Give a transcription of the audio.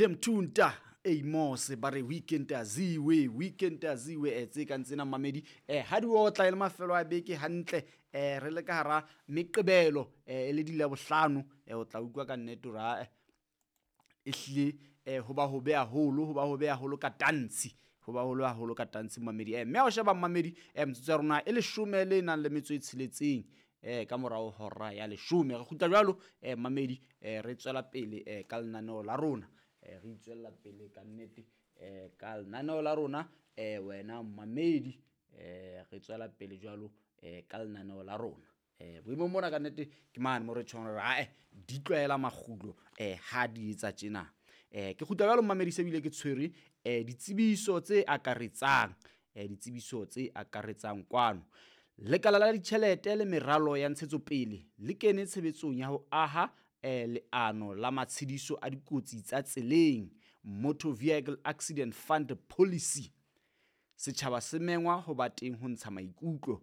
Demtunta Amos ba re weekend aziwe, weekend aziwe. Tse kang tsena mamedi, ha di otla e le mafelo a beke hantle, re le ka hara meqebelo, e le di Labohlano, o tla utlwa ka nnete hore ae ehlile ho ba hobe haholo, ho ba hobe haholo ka tantshi, ho ba holo haholo ka tantshi mamedi. Mme ha o sheba mamedi, metsotso ya rona e leshome le nang le metso e tsheletseng ka morao hora ya 10, re kgutla jwalo mamedi, re tswela pele ka lenaneo la rona, re itswella pele ka nnete ka lenaneo la rona. Wena mamedi, re tswela pele jwalo ka lenaneo la rona. Boemong mona ka nnete ke mane mo re tjhong hore ae di tlwaela makgulo ha di etsa tjena. Ke kgutla jwalo mamedi, se bile ke tshwere ditsebiso tse akaretsang, ditsebiso tse akaretsang kwano. Lekala la ditjhelete le meralo ya ntshetsopele le kene tshebetsong ya ho aha leano la matshediso a dikotsi tsa tseleng, Motor Vehicle Accident Fund Policy. Setjhaba se mengwa ho ba teng ho ntsha maikutlo.